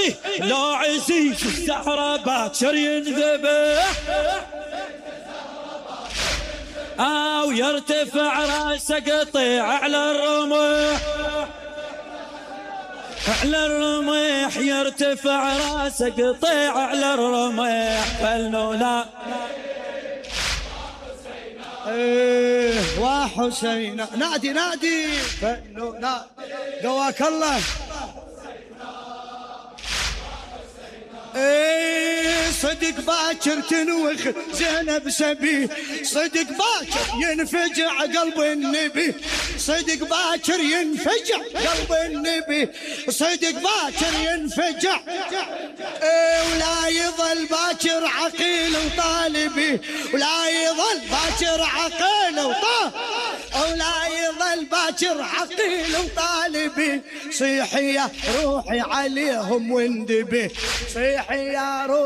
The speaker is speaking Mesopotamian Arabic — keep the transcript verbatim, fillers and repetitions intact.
ايه لو عزيز الزهرة باكر ينذبح او يرتفع راسه قطيع على الرمح، على الرمح يرتفع راسه قطيع على الرمح. فلنولا ايه وحسين نادي نادي فلنولا قواك الله. ايه صدق باكر تنوخ زينب سبي، صدق باكر ينفجع قلب النبي، صدق باكر ينفجع قلب النبي، صدق باكر ينفجع. ايه ولا يظل باكر عقيل وطالبي، ولا يظل باكر عقيل وطالبي، ولا يظل باكر عقيل وطالبي. صيحي يا روحي عليهم واندبي، صيحي يا روحي